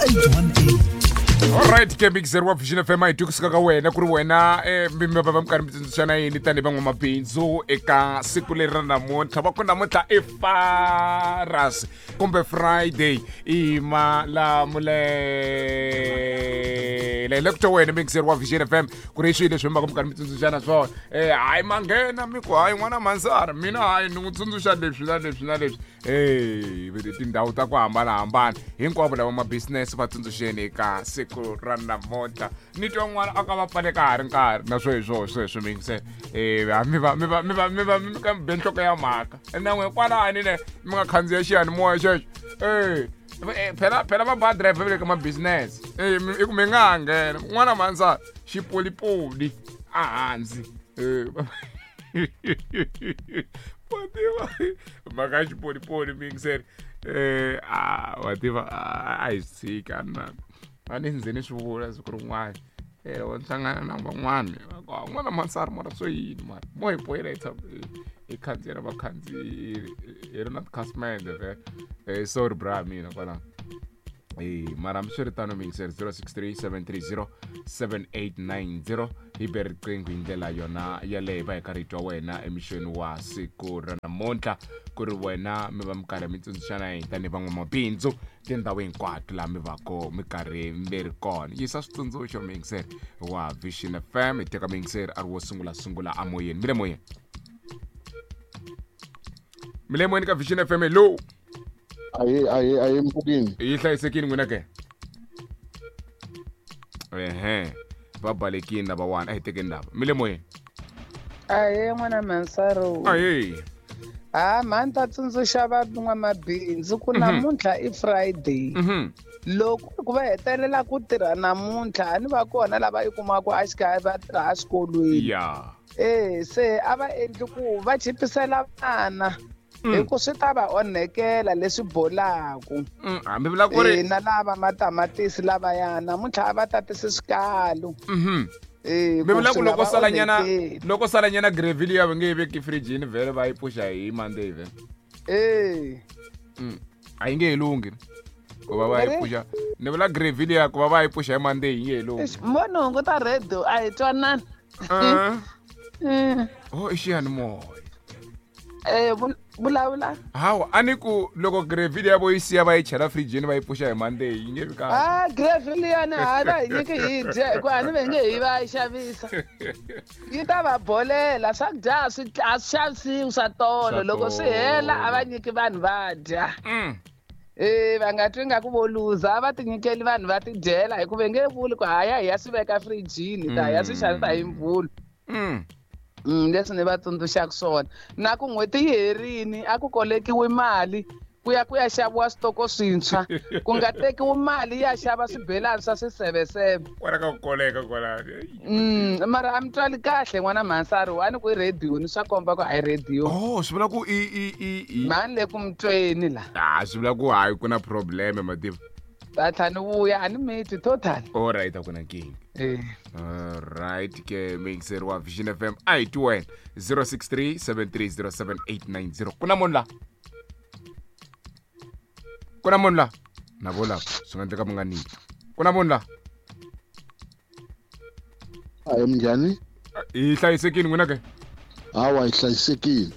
818. Alright ke mixer wa Vision FM a hi twi kusuka ka wena ku ri wena mi va va mi karhi mi tsundzuxana yini tanihi van'wamabindzu eka siku leri ra namuntlha va ku namuntlha i faras kumbe Friday i malamulele hi le ku twa wena mixer wa Vision FM ku ri swilo leswi mi va mi karhi mi tsundzuxana swona hayi manghena mi ku hayi n'wana mansara mina hayi ni n'wi tsundzuxa leswi na leswi na leswi Hey, tindhawu ta ku hambanahambana hinkwavo lava mabisinese va tsundzuxeni eka siku ra namuntlha ni twa n'wana a ka va pfale ka ha ri nkarhi na swo hi swoho sweswo mingise mi va mi va mi va mi va mi ka mi be nhloko ya mhaka na n'we kwalani ne mi nga khandziya xiyanimoya xexo e phela phela va ba driver va le ka mabisinese e i ku mi nga ha nghena n'wana mhansa xipolipoli a hansi wa tiva mhaka ya xipolipoli miyingiseri um wa tiva a hi swi tshika na a ni nze ni swi vula siku rin'wana um wa hlangana na van'wana n'wana mansari mara swo yini mara mo hi boyela hi tshama hi khandziya na vakhandziyi hi ri na tikhasimende vhele um sorry bra mina kwalano mara hambiswiritano miyingiseri 063 730 7890 hi be riqingho hi ndlela yona yaleyo va hi karhi hi twa wena emixweni wa siku ra namuntlha ku ri wena mi va mi karhi mi tsundzuxana hi tanihi van'wamabindzu tindhawu hinkwato laha mi vako mi karhi mi ri kona yisa switsundzuxo miyingiseri wa Vision FM hi teka miyingiseri a ri wo sungula sungula amoyeni mi le moyeni mi le moyeni ka Vision FM hello Ahe ahe ahe mpfukini. Yi hlayisekile n'wina ke? Ehe. Va balekini lavawani a hi tekeni lava. Mi le moyeni. Ahee n'wana Mansaro. Ahee. Ha mhani ta tsundzuxa van'wamabindzu ku namuntlha i Friday. Loko ku va hetelela ku tirha namuntlha a ni va kona lava i kumaka a xikarhi va tirha eswikolweni. Ya. Eh se a va endli ku va chipisela vana. Hi ku swi ta va onhekela leswi bolaku. Hambi vula ku ri na lava matamatisi lavaya namuntlha a va tatisi swikalo. Mi vula ku loko salanyana loko salanyana gravy liya va nge yi veki fridge-ini vhele va yi pfuxa hi Monday vhele. A yi nge he lunghi ku va va yi pfuxa ni vula gravy liya ku va va yi pfuxa hi Monday yi nge he lunghi. Mbona hunguta radio a hi twanani. Oh i xiyanimoya. Vulavula. Hawa a ni ku loko gravy liya vo yi siya va yi chela fridge-ini va yi pfuxa hi Monday yi nge vi kahle. Ah gravy liyani ha va hi nyiki hi dya hikuva a ni va nge hi va yi xavisa. Yi ta va bolela swakudya a swi a swi xavisiwi swa tolo loko swi hela a va nyiki vanhu va dya. Va nga twi nga ku vo luza a va ti nyikeli vanhu va ti dyela hikuva nge vuli ku haya hi ya swi veka fridge-ini ta ya swi xavisa hi mvhulu. Leswi ni va tsundzuxaka swona na ku n'hweti yi herini a ku kolekiwi mali ku ya ku ya xaviwa switoko swintshwa ku nga tekiwi mali ya xava swibelani swa swiseveseve kwala ka ku koleka kwalano. Mara a mi twali kahle n'wana Mhansari wa ni ku i radio ni swa komba ku a hi radio. Oh swi vula ku i i i mhani le ku mi tweni la. Ah swi vula ku hayi ku na problem mativa. Ta ni vuya a ni miti total. All right a ku na nkingha. Alright ke mixer wa Vision FM a hi twi wena 063 730 7890 ku na munhu la ku na munhu la na vo lava swi nga endleka mi nga niki ku na munhu la Ahe minjhani? Hi hlayisekile n'wina ke? Hawa hi hlayisekile.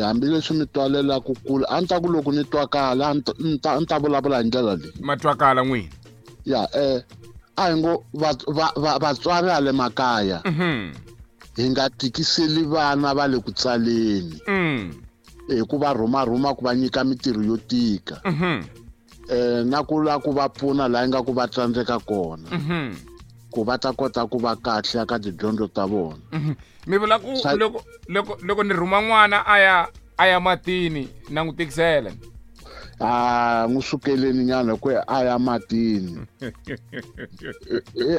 Hambileswi mi twalelaka kule a ni ta ku loko ni twakala a ni ta vulavula hi ndlela leyi. Ma twakala n'wina? Ya a hi ngo vatswari ha le makaya hi nga tikiseli vana va le ku tsaleni hi ku va rhumarhuma ku va nyika mitirho yo tika na ku lava ku va pfuna laha ingaku va tsandzeka kona ku va ta kota ku va kahle ka tidyondzo ta vona. Mi vula ku loko loko loko ni rhuma n'wana a ya matini na n'wi tikisela. A n'wi sukeleni nyana ku a ya matini.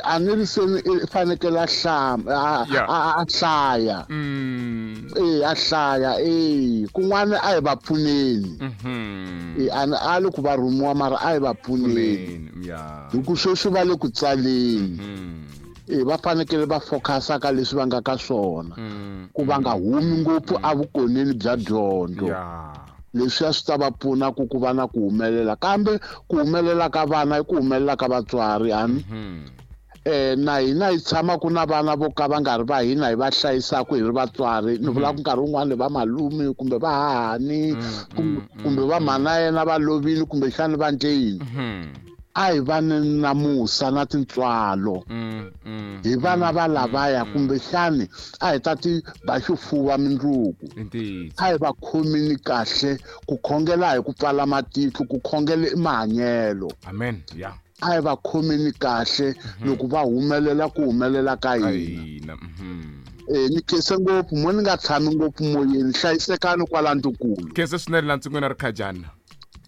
A ni ri se i fanekele a a hlaya. A hlaya kun'wana a hi va pfuneni. A le ku va rhumiwa mara a hi va pfuneni. Hi ku sweswi va le ku tsaleni. Va fanekele va focusa ka leswi va nga ka swona ku va nga humi ngopfu evukoneni bya dyondzo. Leswiya swi ta va pfuna ku ku va na ku humelela, kambe ku humelela ka vana i ku humelela ka vatswari ani. Na hina hi tshama ku na vana vo ka va nga ri va hina hi va hlayisaka hi ri vatswari. Ni vula ku nkarhi wun'wani va malume kumbe va hahani kumbe va mhana yena va lovile kumbexani va ndle yini. A hi vani na musa na tintswalo hi vana va lavaya, kumbexani a hi ta ti ba xifuva mindzuku. A hi va khomini kahle, ku khongela hi ku pfala matihlo, ku khongela i mahanyelo. Amen. Yeah. A hi va khomini kahle loko va humelela ku humelela ka hina. Ni khense ngopfu mo ni nga tshami ngopfu moyeni, hlayisekani kwala ndukulu. Khense swinene la ntsungweni ri khajana.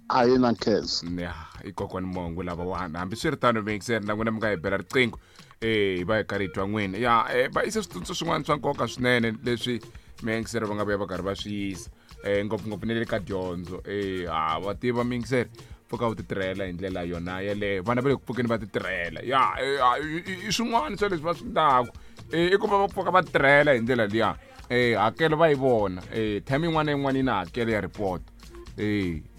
A hi na nkhensa. Ya, i kokwani Mongo lavawani. Hambiswiritano miyingiseri na n'wina mi nga hi bela riqingho hi va hi karhi hi twa n'wina. Ya, va yise switsundzuxo swin'wana swa nkoka swinene leswi miyingiseri va nga vuya va karhi va swi yisa, ngopfungopfu na le ka dyondzo. Ha wa tiva miyingiseri, pfuka u ti tirhela hi ndlela yona yeleyo. Vana va le ku pfukeni va ti tirhela. Ya, i swin'wana swa leswi va swi endlaku, i ku va va pfuka va tirhela hi ndlela liya. Hakelo va yi vona. Term yin'wana na yin'wana yi na hakelo ya report.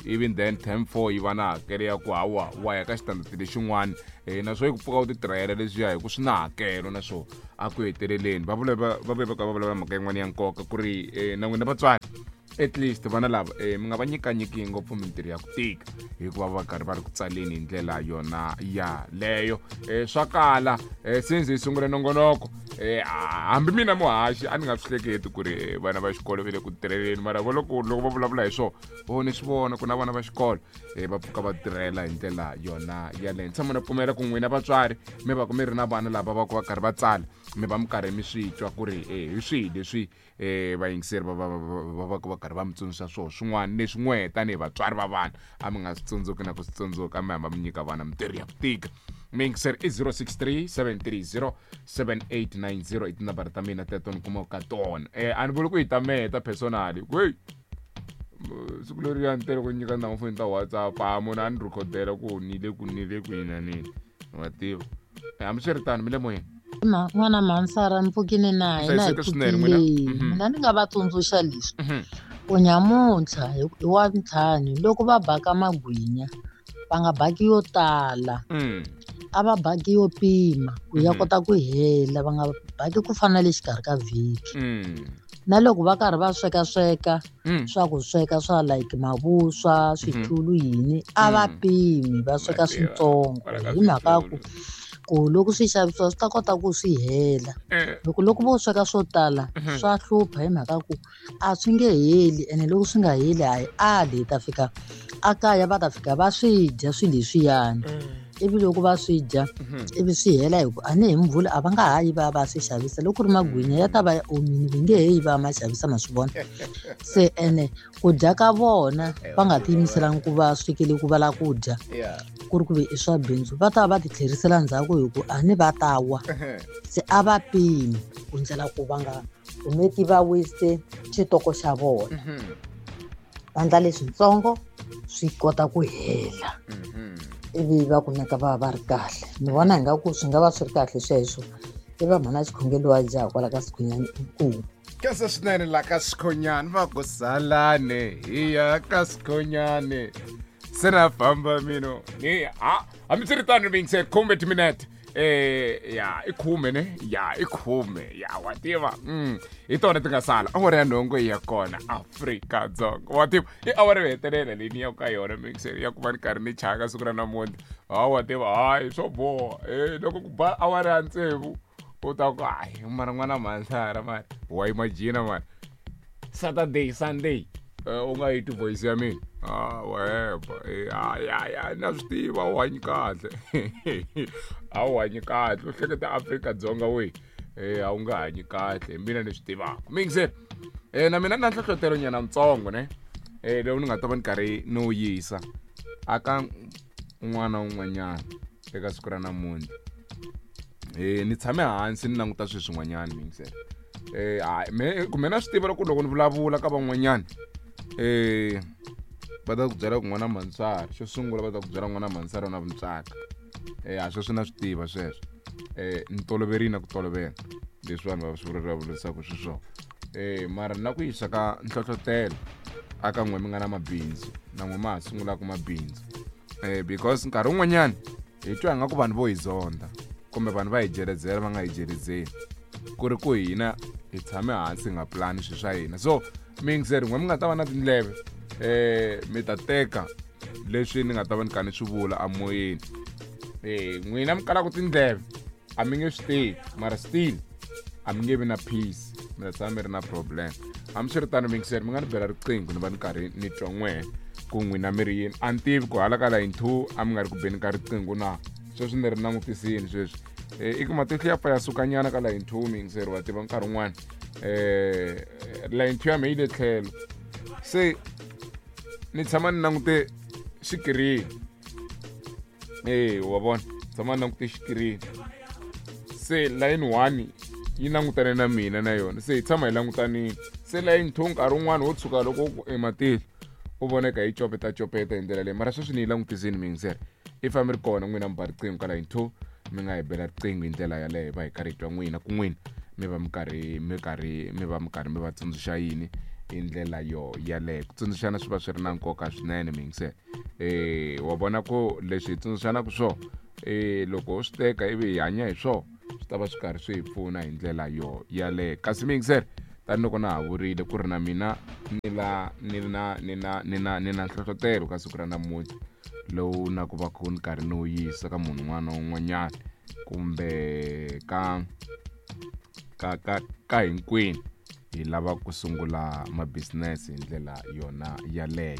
Even then term 4 yi va na hakelo ya ku hawa wa ya ka xitandati lexin'wana. Naswo i ku pfuka u ti tirhela leswiya hi ku swi na hakelo, naswo a ku heteleleni va vula va va va va vulavula mhaka yin'wana ya nkoka ku ri na n'wina vatswari at least vana lava mi nga va nyikanyiki ngopfu mintirho ya ku tika, hikuva va karhi va ri ku tsaleni hi ndlela yona yaleyo. Swa kala since hi sungule nongonoko, hambi mina muhaxi a ni nga swi hleketi ku ri vana va xikolo va le ku tirheleni, mara vo loko loko va vulavula hi swona vo ni swi vona ku na vana va xikolo va pfuka va tirhela hi ndlela yona yaleyo. Ni tshama ni pfumela ku n'wina vatswari mi va ku mi ri na vana lava va ku va karhi va tsala, mi va mi karhi mi swi twa ku ri hi swihi leswi vayingiseri va va va va va karhi va mi tsundzuxa swona swin'wana leswi n'we tanihi vatswari va vana a mi nga swi tsundzuki na ku swi tsundzuka, mi hamba mi nyika vana mintirho ya ku tika. Miyingiseri i 063 730 7890 i tinambara ta mina teto ni kumaka ka tona. A ni vuli ku yi ta mehe ta personally, wey siku leriya ni tele ku nyika na foni ta WhatsApp, a munhu a ni rhikhodela ku ni le ku ni le kwini na nini, wa tiva. Hambiswiritano mi le moyeni. N'wana Mhansara mpfukini na hina hi Hlayiseka swinene n'wina. pfukile. Mina ni nga va tsundzuxa leswi, ku nyamuntlha hi wa ntlhanu loko va baka magwinya va nga baki yo tala, a va baki yo pima ku ya kota ku hela, va nga baki ku fana na le xikarhi ka vhiki. Na loko va karhi va sweka sweka swa ku sweka swa like mavuswa, switulu yini, a va pimi, va sweka switsongo hi mhaka ku ku loko swi xavisiwa swi ta kota ku swi hela. Loko loko vo sweka swo tala swa hlupha hi mhaka ku a swi nge heli, ene loko swi nga heli a hi ali hi ta fika a kaya va ta fika va swi dya swilo leswiyani. Ivi loko va swi dya ivi swi hela hi ku a ni hi mvula a va nga ha yi va ya va swi xavisa. Loko ku ri magwinya ya ta va ya omile, va nge he yi va ya ma xavisa, ma swi vona. Se ene ku dya ka vona va nga tiyimiselangi ku va swekele ku va lava ku dya, ku ri ku ve i swa bindzu, va ta va va ti tlherisela ndzhaku hi ku a ni va ta wa. Se a va pimi ku ndlela ku va nga kumeki va waste xitoko xa vona. Va endla leswitsongo swi kota ku hela, ivi va kumeka va va ri kahle. Ni vona ingaku swi nga va swi ri kahle sweswo. I va mhana xikhongelo wa jaha kwala ka Sikhonyani inkomu. Khensa swinene la ka Sikhonyani, va ku salane hi ya ka Sikhonyani, se na famba mino ni ha hambiswiritano miyingiseri khume timinete. Ya i khume ne, ya i khume, ya wa tiva. Hi tona ti nga sala awara ya nhungu ya kona Afrika-Dzonga, wa tiva i awara yo hetelela leyi ni yaka ka yona miyingiseri ya ku va ni karhi ni chaka siku ra namuntlha. Ha wa tiva, hayi swo boha. Loko ku ba awara ya tsevu u ta ku hayi mara n'wana Mhansara mara wa imagine mara Saturday Sunday u nga yi ti voice ya mina. Ah, weba. Ya ya na swi tiva u hanyi kahle, a wu hanyi kahle, u hleketa Afrika-Dzonga we, a wu nga hanyi kahle, hi mina ni swi tivaka miyingiseri. Na mina na nhlohlotelo nyana ntsongo ne, lowu ni nga ta va ni karhi ni wu yisa aka un'wana na un'wanyana eka siku ra namuntlha. Ni tshame hansi ni languta swilo swin'wanyana miyingiseri. Me kumbe na swi tiva loko loko ni vulavula ka van'wanyana, va ta ku byela ku n'wana Mhansara, xo sungula va ta ku byela n'wana Mhansara na vuntswaka. A sweswo na swi tiva sweswo. Ni toloverile na ku tolovela leswi vanhu va swi vulavurisaka xiswona. Mara na ku yisa ka nhlohlotelo Aka n'we mi nga na mabindzu na n'we ma ha sungulaka mabindzu, because nkarhi wun'wanyana hi twa nga ku vanhu vo hi zonda kumbe vanhu va hi jeledzela, va nga hi jeledzeli, ku ri ku hina hi tshame hansi hi nga pulani swilo swa hina. So miyingiseri, n'we mi nga ta va na tindleve, mi ta teka leswi ni nga ta va ni kha ni swi vula amoyeni. N'wina mi kalaka tindleve a mi nge swi tivi, mara still a mi nge vi na peace, mi ta tshama mi ri na problem. Hambiswiritano miyingiseri, mi nga ni bela riqingho ni va ni karhi ni twa n'wehe ku n'wina mi ri yini. A ni tivi ku hala ka line 2 a mi nga ri ku beni ka riqingho na sweswi ni ri langutisini sweswi. I ku matihlo ya pfa ya sukanyana ka line 2, miyingiseri, wa tiva nkarhi wun'wana line 2 ya me yi le tlhelo, se ni tshama ni langute xikirini. Wa vona, tshama ni langute xikirini, se line 1 yi langutane na mina na yona, se hi tshama hi langutanini. Se line 2 nkarhi wun'wani wo tshuka loko ku ematihlo u voneka yi copeta copeta hi ndlela leyi, mara sweswi ni yi langutisini miyingiseri. If a mi ri kona n'wina mi ba riqingho ka line 2, mi nga hi bela riqingho hi ndlela yaleyo, va hi karhi hi twa n'wina ku n'wina mi va mi karhi mi karhi mi va mi karhi mi va tsundzuxa yini hi ndlela yo yaleyo. Ku tsundzuxana swi va swi ri na nkoka swinene miyingiseri. Wa vona ku leswi hi tsundzuxanaka swona, loko ho swi teka ivi hi hanya hi swona, swi ta va swi karhi swi hi pfuna hi ndlela yo yaleyo. Kasi miyingiseri, tanihiloko na ha vurile ku ri na mina ni la ni na ni na ni na ni na nhlohlotelo ka siku ra namuntlha lowu na ku va ku ni karhi ni wu yisa ka munhu un'wana na un'wanyana kumbe ka ka ka ka hinkwenu hi lava ku sungula ma-business hi ndlela yona yaleyo.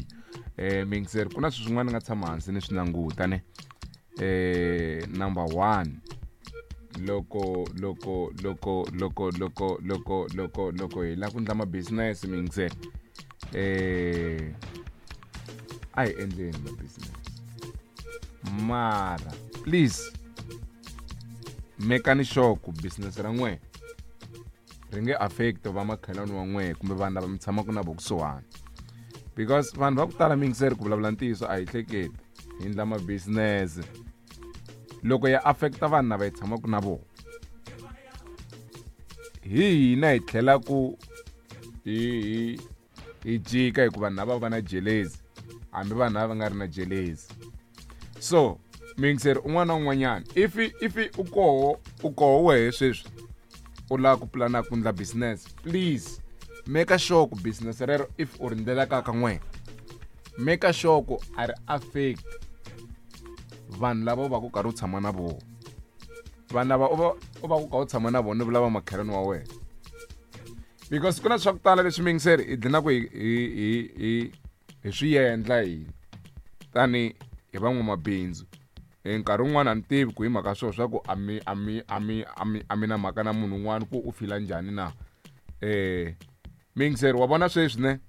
Miyingiseri, ku na swilo swin'wana ni nga tshama hansi ni swi languta ne. Number 1, loko loko loko loko loko loko loko loko hi lava ku endla ma-business miyingiseri, a hi endleni ma-business, mara please mekani sure ku business ra n'wehe ri nge affect va makhelwani wa n'wehe kumbe vanhu lava mi tshamaka na vo kusuhani, because vanhu va ku tala miyingiseri, ku vulavula ntiyiso a hi hleketi hi endla ma-business loko ya affecta vanhu lava hi tshamaka na vona, hi hina hi tlhela ku hi hi jika, hikuva vanhu lava va na jelezi, hambi vanhu lava va nga ri na jelezi. So miyingiseri, un'wana na un'wanyana, if u koho wehe sweswi u lava ku pulana ku endla business, please make sure ku business rero if u ri ndlela ka ka n'wehe, make sure ku a ri affect vanhu lava u va ku karhi u tshama na vona. Vanhu lava u va ku ka u tshama na vona, ni vula va makhelwani wa wena, because ku na swa ku tala leswi miyingiseri hi dlina ku hi swi endla hina tani hi van'wamabindzu. Nkarhi wun'wani a ni tivi ku hi mhaka swona swa ku a mi a mi a mi a mi a mi na mhaka na munhu un'wana ku u fila njhani na. Miyingiseri, wa vona sweswi ne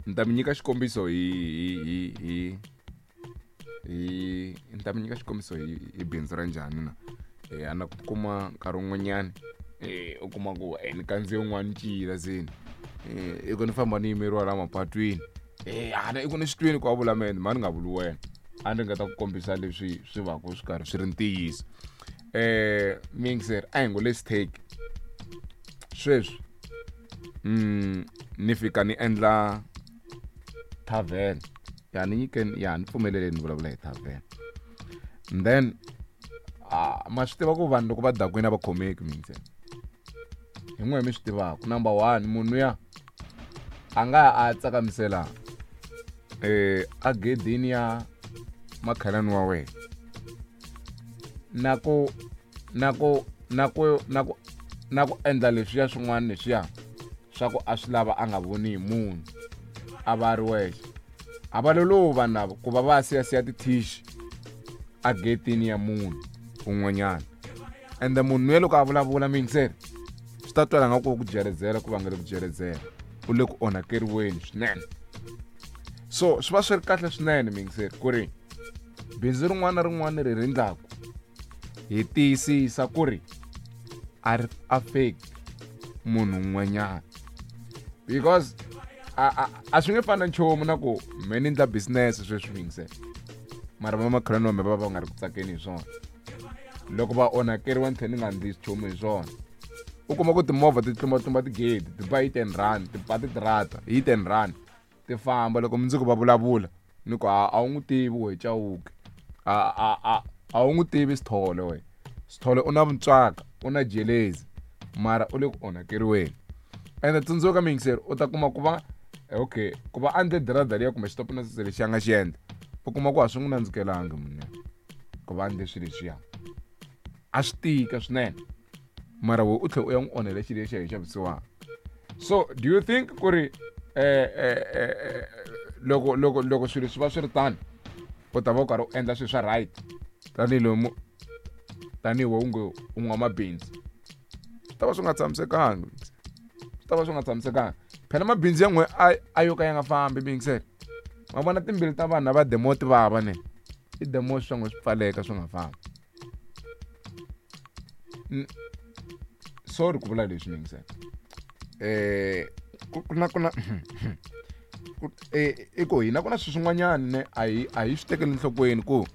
ni ta mi nyika xikombiso hi hi hi ni ta mi nyika xikombiso hi bindzu ra njhani na. A na ku kuma nkarhi wun'wanyani u kuma ku ni kandziye un'wana ncila seni, i ku ni famba ni yimeriwa la mapatwini, ana i ku ni swi twini ku a vula mene, ma ni nga vuli wena, a ni ringeta ku kombisa leswi swi va ku swi karhi swi ri ntiyiso. Miyingiseri, a hi ngo let's take sweswi ni fika ni endla tavern, ya ni nyikeni, ya ni pfumeleleni ni vulavula hi tavern, and then ma swi tiva ku vanhu loko va dakwini a va khomeki miyingiseri, hi n'we mi swi tivaka. Number 1, munhu ya a nga a tsakamisela a gedini ya makhelwani wa wena na ku na ku na ku na ku na ku endla leswiya swin'wana leswiya swa ku a swi lava a nga voni hi munhu, a va ri wexe. A va lolovi vanhu lava ku va va siyasiya tithishi a getini ya munhu un'wanyana, ende munhu luya loko a vulavula miyingiseri swi ta twala nga ku ku jeredzela, ku vangele ku jeredzela, u le ku onhakeriweni swinene. So swi va swi ri kahle swinene miyingiseri ku ri bindzu rin'wana na rin'wana ri rindlaku hi tiyisisa ku ri a ri affect munhu un'wanyana, because a swi nge fani na nchumu na ku me ni endla business sweswi miyingiseri, mara va makhelwani wa me va va nga ri ku tsakeni hi swona, loko va onhakeriwa ni tlhela ni nga ndli nchumu hi swona. U kuma ku timovha ti tlumbatlumba tigedi, ti ba hit and run, ti ba titirata hit and run. ti famba loko mundzuku va vulavula ni ku a wu n'wi tivi we Chauke a wu n'wi tivi Sithole we Sithole u na vuntswaka u na jelezi mara u le ku onhakeriweni ende tsundzuka miyingiseri u ta kuma ku va okay ku va a endle dirada liya kumbe xitopo na sese lexi a nga xi endla u kuma ku a swi n'wi nandzikelangi munhu ku va endle swilo leswiya a swi tika swinene mara we u tlhela u ya n'wi onhela xilo lexi a hi xavisiwaka so do you think ku ri loko loko loko swilo swi va swi ri tano u ta va u karhi u endla swilo swa right tanihiloko tanihi we u nge u n'wamabindzu swi ta va swi nga tshamisekanga swi ta va swi nga tshamisekanga phela mabindzu ya n'we a yo ka ya nga fambi miyingisele ma vona timbilu ta vanhu lava demo ti vava ne i demo swa n'we swi pfaleka swi nga fambi sorry ku vula leswi miyingisele ku na i ku hina ku na swilo swin'wanyana ne a hi swi tekeli enhlokweni ku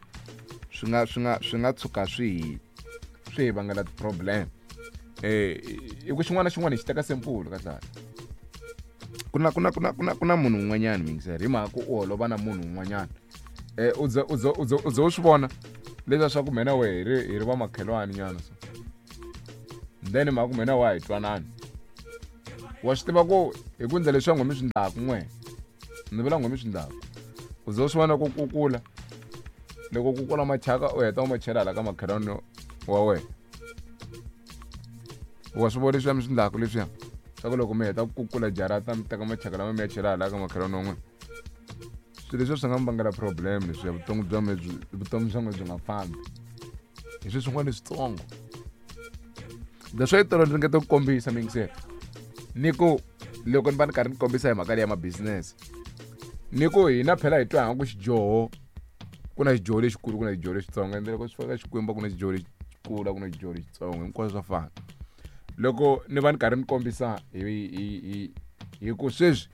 swi nga tshuka swi hi vangela ti-problem i ku xin'wana na xin'wana hi xi teka simple kahle ku na munhu un'wanyana miyingiseri hi mhaka ku u holova na munhu un'wanyana u ze u swi vona leswiya swa ku mina we hi ri vamakhelwani nyana so then mhaka ku mina wa hi twanani wa swi tiva ku hi ku ndlela leswi n'we mi swi ndlaku n'we ni vula n'we mi swi ndlaku u ze u swi vona ku kukula loko kukula machaka u heta u ma chela hala ka makhelwani wa wena wa swi vona leswiya mi swi ndlaku leswiya swa ku loko mi heta ku kukula jarata mi teka machaka lama mi ya chela hala ka makhelwani wa n'wina swilo leswiya swi nga mi vangela problem leswiya vutomi bya me vutomi bya n'we byi nga fambi hi swilo swin'wana leswitsongo leswi yi tolo ni ringeta ku kombisa miyingiseri ni ku loko ni va ni karhi ni kombisa hi mhaka leyi ya ma-business ni ku hina phela hi twa ku xidyoho ku na xidyoho lexikulu ku na xidyoho lexitsongo ende loko swi fika Xikwembu ku na xidyoho lexikulu a ku na xidyoho lexitsongo hinkwaswo swa fana loko ni va ni karhi ni kombisa hi ku sweswi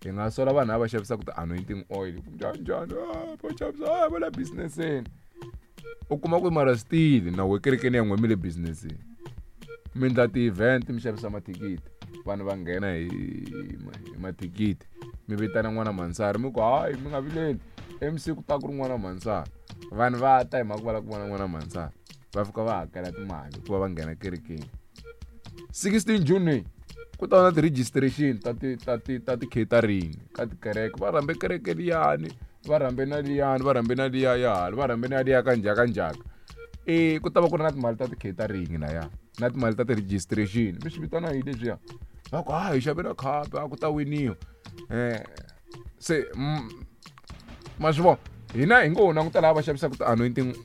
hi nga sola vanhu lava xavisaka ti-anointing oil ku njhani njhani va xavisa va le businesseni u kuma ku mara still na we kerekeni ya n'we mi le businesseni mi endla ti-event mi xavisa mathikithi vanhu va nghena hi mathikithi mi vitana n'wana mansari mi ku hayi mi nga vileli MC ku ta ku ri n'wana mansari vanhu va ta hi mhaka ku va lava ku vona n'wana mansari va fika va hakela timali ku va va nghena kerekeni 16 June ku ta va na ti-registration ta ti-catering ka tikereke va rhambe kereke liyani va rhambe na liyani va rhambe na liya ya hala va rhambe na liya ka njhaka njhaka e ku ta va ku ri na timali ta ti-catering laya na timali ta ti-registration mi swi vitana yini leswiya va ku ha hi xave na khapi a ku ta winiwa se ma swi vona hina hi ngo languta lava va xavisaka ti-anointing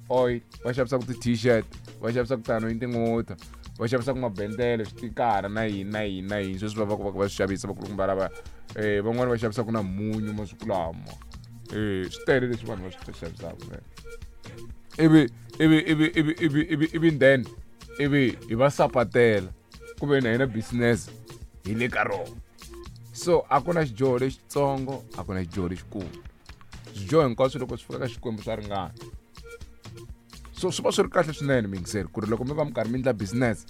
oil va xavisaka ti-t-shirt va xavisaka ti-anointing water va xavisaka mabendele switikara na yini na yini na yini sweswi va va va va swi xavisa vakulukumba lava van'wani va xavisaka na munyu masiku lama swi tele leswi vanhu va swi xavisaka ivi ivi ivi ivi ivi ivi ivi then ivi hi va sapatela ku ve na hina business hi le ka rona so a ku na xidyoho lexitsongo a ku na xidyoho lexikulu swidyoho hinkwaswo loko swi fika ka Xikwembu swa ringana so swi va swi ri kahle swinene miyingiseri ku ri loko mi va mi karhi mi endla business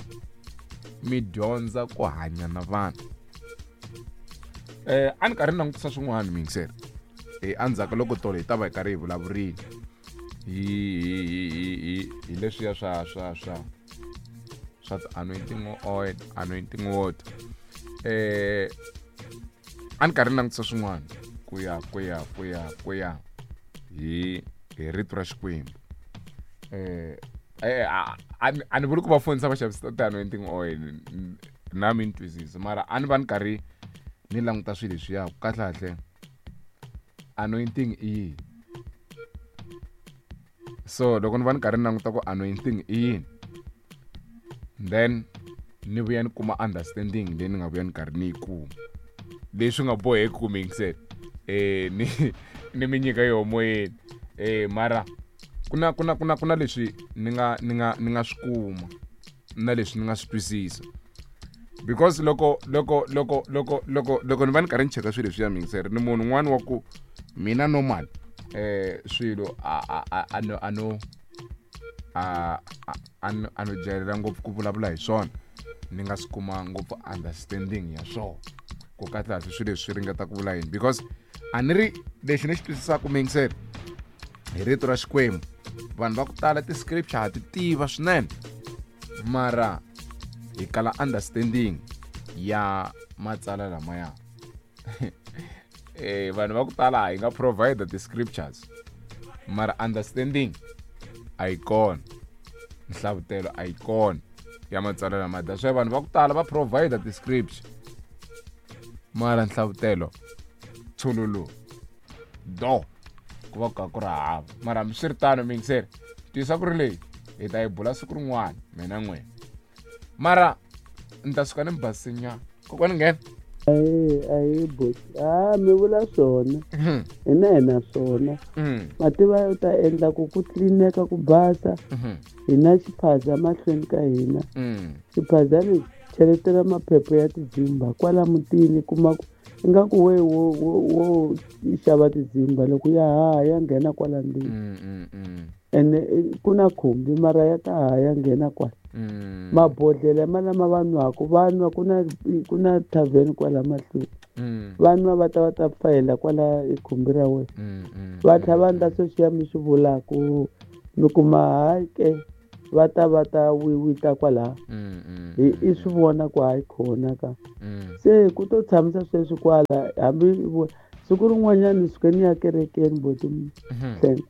mi dyondza ku hanya na vanhu a ni karhi ni langutisa swin'wana miyingiseri endzhaku loko tolo hi ta va hi karhi hi vulavurile hi leswiya swa ti-anointing oil, anointing water a ni karhi ni langutisa swin'wana ku ya hi rito ra Xikwembu a ni vuli ku va fonisa va xavisa ti-anointing oil na mi ni twisisa mara a ni va ni karhi ni languta swilo leswiya ku kahlekahle anointing i yini so loko ni va ni karhi ni languta ku anointing i yini then ni vuya ni kuma understanding leyi ni nga vuya ni karhi ni yi kuma leswi nga boheki ku miyingisela ni mi nyika yoho moyeni mara ku na leswi ni nga swi kuma na leswi ni nga swi twisisa because loko ni va ni karhi ni cheka swilo leswiya miyingiseri ni munhu un'wana wa ku mina normal swilo a no a a no jahelela ngopfu ku vulavula hi swona ni nga swi kuma ngopfu understanding ya swona. Ku kahle swilo leswi swi ringeta ku vula yini, because a ni ri lexi ni xi twisisaka muyingiseri hi rito ra Xikwembu, vanhu va ku tala ti-scripture ha ti tiva swinene, mara hi kala understanding ya matsalwa lamaya. Vanhu va ku tala hi nga provide ti-scriptures, mara understanding a yi kona, nhlavutelo a yi kona ya matsalwa lamaya. That's why vanhu va ku tala va provide ti-scripture, mara nhlavutelo tshululu do ku va ku ka ku ri hava. Mara hambiswiritano muyingiseri, twisa ku ri leyi hi ta yi bula siku rin'wana mina n'wina, mara ni ta suka ni mi basisinyana. Kokwani nghena. Ayi boti, mi vula swona, hina hi na swona. Mativa u ta endla ku ku tlilineka ku basa, hina xiphaza mahlweni ka hina. Xiphaza lexi cheletela maphepha ya tidzimba kwala mutini, kuma ku ingaku we wo xava tidzimba loko ya haha ya nghena kwala ndlwini. Ene ku na khumbi mara ya ta haha ya nghena kwala. Mabodhlele ma lama va nwaka, va nwa ku na tavern kwala mahlweni. Va nwa va ta va ta fayela kwala i khumbi ra wena. Va tlhela va endla sweswiya mi swi vulaka, mi kuma hayi ke va ta va ta wiwita kwala. Hi i swi vona ku hayi khona ka. Se ku to tshamisa sweswi kwala, hambi siku rin'wanyana ni suke ni ya kerekeni boti Hlengo.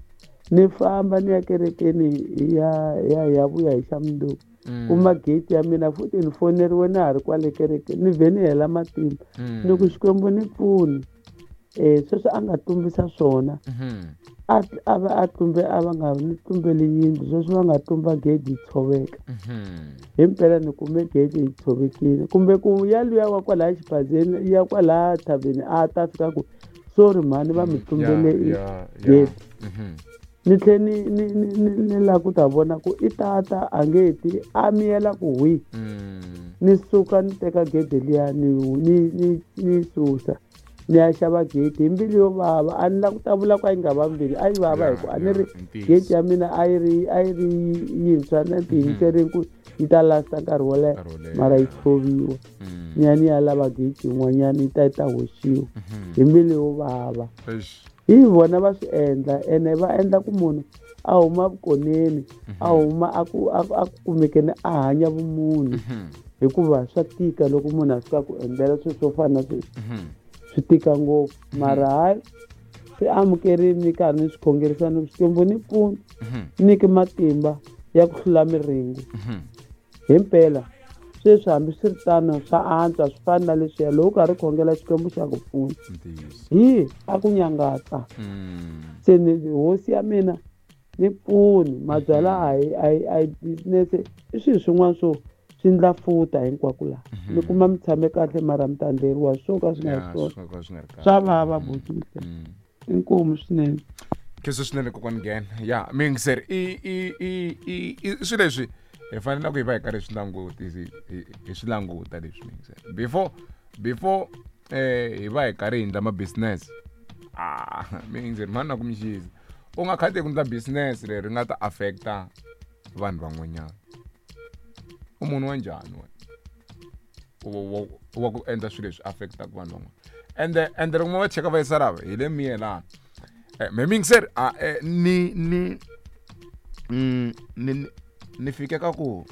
Ni famba ni ya kerekeni ya vuya hi xa mundzuku. Kuma gate ya mina futhi ni foneriwe na ha ri kwale kerekeni, ni vhe ni hela matimba. Ni ku Xikwembu ni pfuni. Sweswi a nga tumbisa swona. A va a tumbe, a va nga ni tumbeli yindlu, sweswi va nga tumba gate yi tshoveka. Himpela ni kume gate yi tshovekile. Kumbe ku ya luya wa kwalaya xiphazeni, ya kwalaya thaveni, a ta fika ku sorry mhani va mi tumbele gate. Ni tlhe ni lava ku ta vona ku i tata a nge ti, a miyela ku hwi. Ni suka ni teka gede liya ni susa. Ni ya xava gate hi mbilu yo vava. A ni lava ku ta vula ku a yi nga va mbili, a yi vava hi ku a ni ri gate ya mina a yi ri yintshwa na tiyimiserile ku yi ta lasta nkarhi wo leha, mara yi tshoviwa. Ni ya ni ya lava gate yin'wanyana yi ta yi ta hoxiwa hi mbilu yo vava. Hi vona va swi endla, ene va endla ku munhu a huma vukoneni, a huma a ku kumekeni a hanya vumunhu. Hikuva swa tika loko munhu a fika ku endlela swilo swo fana na sweswi. Swi tika ngopfu, mara hayi swi amukerile, ni karhi ni swi khongerisa ni Xikwembu ni pfuna, nyiki matimba ya ku hlula miringo. Himpela sweswi hambi swi ri tano swa antswa, swi fana na leswiya loko u karhi u khongela Xikwembu xa ku pfuna. Hi a ku nyangatsa. Se ni hosi ya mina ni pfuni, mabyala a hi business, i swilo swin'wana swo swi ndla futa hinkwako laha. Mi kuma mi tshame kahle mara mi ta endleriwa swo ka swi nga ri swona. Swa vava buti. Inkomu swinene. Kheso swinene kokwani nghena. Ya muyingiseri, i swilo leswi hi fanele ku hi va hi karhi hi swi languta leswi muyingiseri. Before hi va hi karhi hi endla ma business. Muyingiseri mhani na ku mi xisa. U nga khati ku endla business leri nga ta affecta vanhu van'wanyana. U munhu wa njhani wena? Wa ku endla swilo leswi affectaka vanhu van'wana. Ende loko va cheka va yisa lava hi le miyelana. Me muyingiseri, ni fike ka ku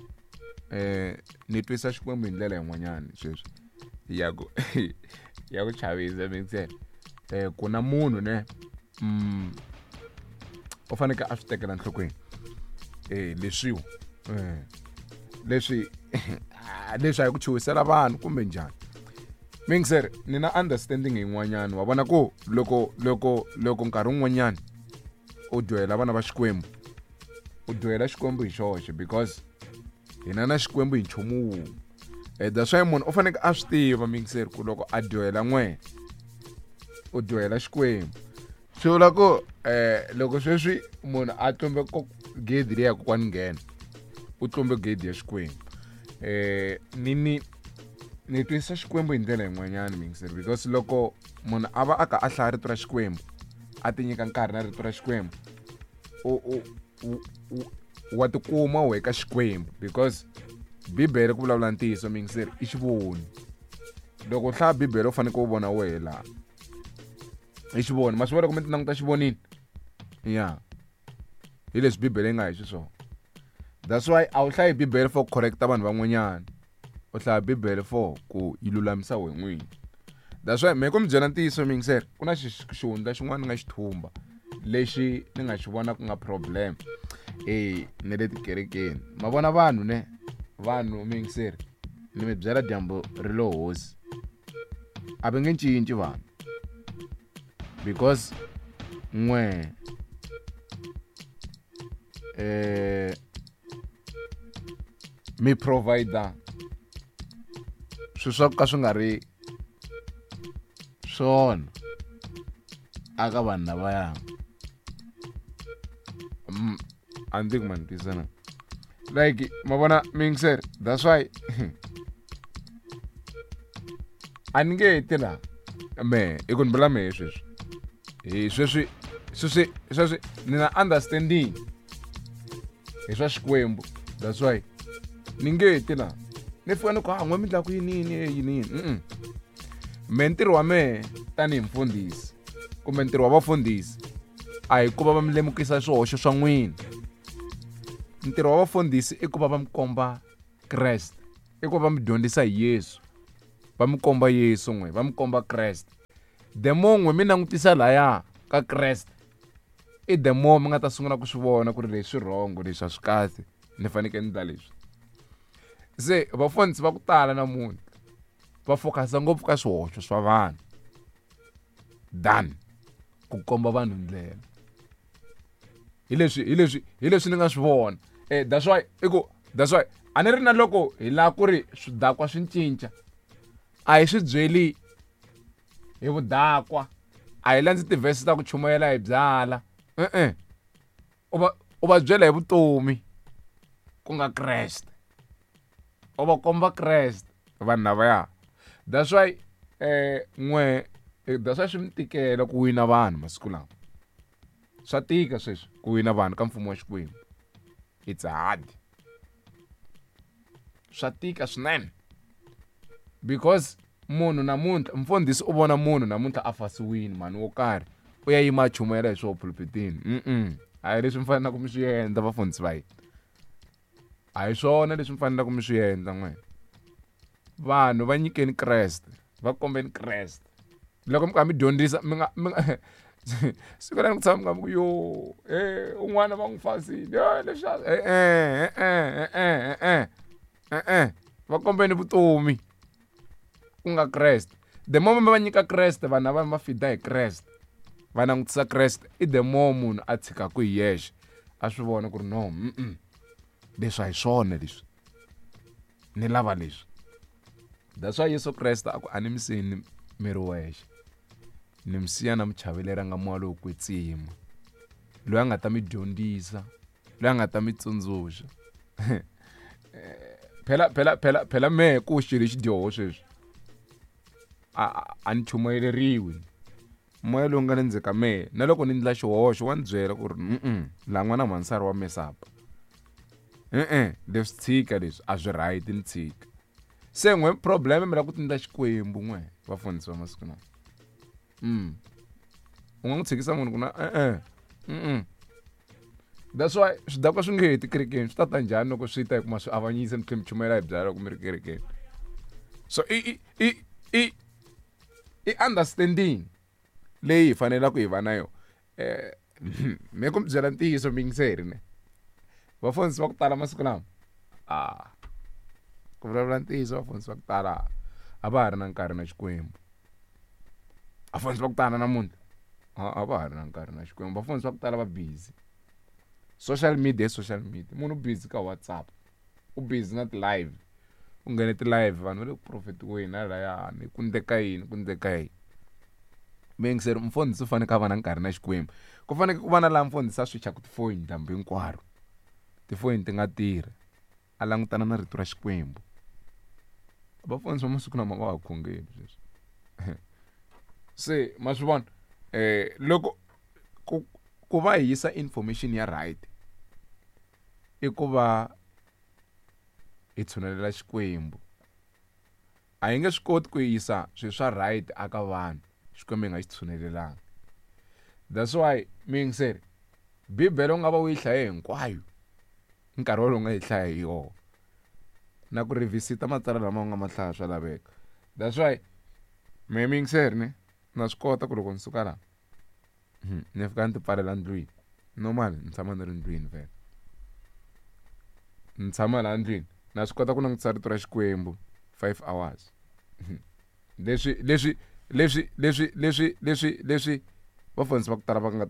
ni twisa Xikwembu hi ndlela yin'wanyana sweswi ya ku ya ku chavisa muyingiseri. Ku na munhu ne u fanekele a swi tekela enhlokweni. Leswiwa leswi leswi a hi ku chuhisela vanhu kumbe njhani. Muyingiseri, ni na understanding yin'wanyana. Wa vona ku loko nkarhi wun'wanyana u dyohela vana va Xikwembu, u dyohela Xikwembu hi xoxe, because hina na Xikwembu hi nchumu wun'we. That's why munhu u fanekele a swi tiva muyingiseri ku loko a dyohela n'wena u dyohela Xikwembu. Swi vula ku loko sweswi munhu a tlumbe gedi leyi ya kokwani nghena, u tlumbe gedi ya Xikwembu. Ni twisisa Xikwembu hi ndlela yin'wanyana muyingiseri, because loko munhu a va a ka a hlaya rito ra Xikwembu, a ti nyika nkarhi na rito ra Xikwembu, wa tikuma u eka Xikwembu, because Bibele ku vulavula ntiyiso muyingiseri i xivoni. Loko u hlaya Bibele u fanekele u vona wehe laha. I xivoni, ma swi vona loko mi ti languta xivonini? Ya. Hi leswi Bibele yi nga hi xiswona. That's why a wu hlayi Bibele for ku correcta vanhu van'wanyana. U hlaya Bibele for ku yi lulamisa wena n'wini. That's why me ku mi byela ntiyiso mi yingiseri, ku na xihundla xin'wana ni nga xi thumba lexi ni nga xi vona ku nga problem ne le tikerekeni. Ma vona vanhu ne? Vanhu mi yingiseri, ni mi byela dyambu ri lo hosi. A va nge cinci vanhu. Because n'we mi provider swilo swa ku ka swi nga ri swona aka vanhu lavaya. A ni tivi ku ma ni twisisa na. Like ma vona mi yingiseri, that's why a ni nge ti laha mehe i ku ni vula mehe sweswi. Hi sweswi, sweswi, sweswi ni na understanding hi swa Xikwembu. That's why ni nge ti laha ni fika ni ku ha n'we mi ndla ku yini yini yini yini. Mm-mm. Me ntirho wa mehe tanihi mfundhisi kumbe ntirho wa vafundhisi a hi ku va va mi lemukisa swihoxo swa n'wina. Ntirho wa vafundhisi i ku va va mi komba Kreste, i ku va va mi dyondzisa hi Yesu, va mi komba Yesu n'we, va mi komba Kreste. The more n'we mi langutisa laya ka Kreste, i the more mi nga ta sungula ku swi vona ku ri leswi wrong, leswi a swi kahle, ni fanekele ni endla leswi. Se vafundhisi va ku tala namuntlha va focus-a ngopfu ka swihoxo swa vanhu than ku komba vanhu ndlela. Hi leswi, hi leswi, hi leswi ni nga swi vona. That's why i ku, that's why a ni ri na loko hi lava ku ri swidakwa swi cinca, a hi swi byeli hi vudakwa, a hi landzi tivhesi ta ku chumayela hi byala. E-e. U va byela hi vutomi ku nga Kreste. U va komba Kreste vanhu lavaya. That's why n'we, that's why swi mi tikela ku wina vanhu masiku lawa. Swa tika sweswi ku wina vanhu ka mfumo wa Xikwembu. It's hard. Swa tika swinene. Because munhu namuntlha, mfundhisi u vona munhu namuntlha a fasiwini mhani wo karhi, u ya yima a chumayela hi swoho pulpitini. Mm-mm. A hi leswi mi fanelaka mi swi endla vafundhisi va hina. A hi swona leswi mi fanelaka mi swi endla n'wina. Vanhu va nyikeni Kreste, va kombeni Kreste. Loko mi karhi mi dyondzisa, mi nga, mi nga, siku leri ku tshama mi nga ku yo, un'wana va n'wi fasile, leswi a, Va kombeni vutomi ku nga Kreste. The moment va nyika Kreste, vanhu lava va fida hi Kreste, va langutisa Kreste, i the more munhu a tshikaka hi yexe, a swi vona ku ri no, mm-mm, leswi a hi swona leswi, ni lava leswi. That's why Yesu Kreste a ku a ni mi siyi ni mi ri wexe, ni mi siya na muchaveleri a nga moya lowo kwetsima, loyi a nga ta mi dyondzisa, loyi a nga ta mi tsundzuxa. Phela, phela, phela, phela mehe ku xilo xi dyoho sweswi a ni chumayeleriwi. Moya lowu nga le ndzeni ka mehe, na loko ni endla xihoxo wa ni byela ku ri mm-mm, laha n'wana mhansari wa mesapa. E-e, leswi tshika leswi a swi right, ni tshika. Se n'we problem mi lava ku tindla Xikwembu n'we vafundhisi va masiku lawa. U nga n'wi tshikisa munhu ku na e-e, mm-mm. That's why swidakwa swi nge heti kerekeni, swi ta ta njhani loko swi ta hi kuma swi avanyisa mi tlhela mi chumayela hi byala loko mi ri kerekeni. So i understanding leyi hi fanelaka hi va na yona. Me ku mi byela ntiyiso mi yingiseri ne. Vafundhisi va ku tala masiku lama, ku vulavula ntiyiso vafundhisi va ku tala a va ha ri na nkarhi na Xikwembu. Vafundhisi va ku tala namuntlha a va ha ri na nkarhi na Xikwembu. Vafundhisi va ku tala va busy. Social media i social media. Munhu u busy ka WhatsApp, u busy na ti-live, u nghene ti-live vanhu va le ku profetiweni halayani, ku endleka yini, ku endleka yini. Mi yingiseri, mufundhisi u fanekele a va na nkarhi na Xikwembu. Ku fanekele ku va na laha mufundhisi a switchaka tifoyini dyambu hinkwaro, tifoyini ti nga tirhi, a langutana na rito ra Xikwembu. Vafundhisi va masiku lama va ha khongeli sweswi. Se ma swi vona, loko ku va hi yisa information ya right i ku va hi tshunelela Xikwembu. A hi nge swi koti ku yisa swilo swa right aka vanhu Xikwembu hi nga xi tshunelelanga. That's why mi yingiseri Bibele u nga va u yi hlaye hinkwayo nkarhi wolowo u nga yi hlaya hi yona na ku revisita matsalwa lama u nga ma hlaya swa laveka. That's why mehe mi yingiseri ne na swi kota ku loko ni suka laha ni fika ni ti pfalela ndlwini normal ni tshama ni ri ndlwini vhele ni tshama laha ndlwini na swi kota ku langutisa rito ra Xikwembu 5 hours leswi leswi leswi leswi leswi leswi leswi vafundhisi va ku tala va nga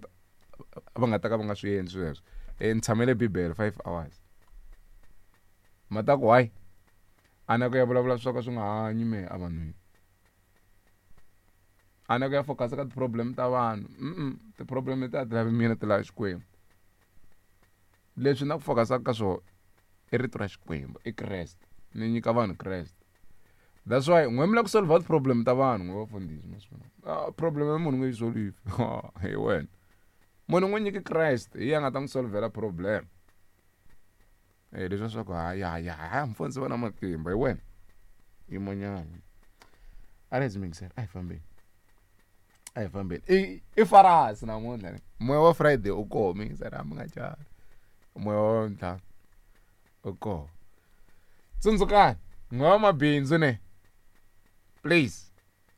va nga ta ka va nga swi endli sweswo ni tshamele bibele 5 hours ma ta ku hayi a na ku ya vulavula swo ka swi nga hanyi me evanhwini a na ku ya focus ka ti-problem ta vanhu ti-problem leti a ti lavi mina ti lava Xikwembu leswi na ku focus-aka ka swona i rito ra Xikwembu i Kreste ni nyika vanhu Kreste that's why n'we mi lava ku solve ti-problem ta vanhu n'we vafundhisi ma swi vona problem ya munhu n'we yi solve hi wena munhu n'wi nyiki Kreste hi yena a nga ta n'wi solvela problem leswiya swa ku hayi hayi hayi mfundhisi va na matimba hi wena yimanyana a ri yingisela a hi fambeni a hi fambeni i i farasi namuntlha ne moya wa Friday u koho mi yingisela mi nga chavi moya wa ntlhanu u koho tsundzukani n'we wa mabindzu ne please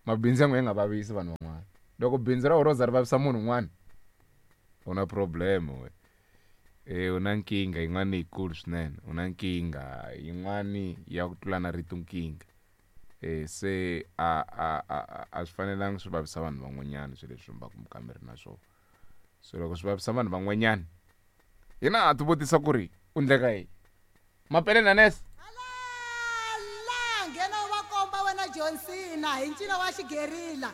mabindzu ya n'we ya nga vavisi vanhu van'wana loko bindzu ra wena ro za ri vavisa munhu un'wana u na problem we e u na nkingha yin'wana leyikulu swinene u na nkingha yin'wani ya ku tlula na rito nkingha e se a a a a swi fanelanga swi vavisa vanhu van'wanyana swilo leswi mi va ka mi ri na swona so loko swi vavisa vanhu van'wanyana hina ha ti vutisa ku ri u ndleka yini mapele na nese Halala nghena u va komba wena John Cena hi ncino wa xigerila.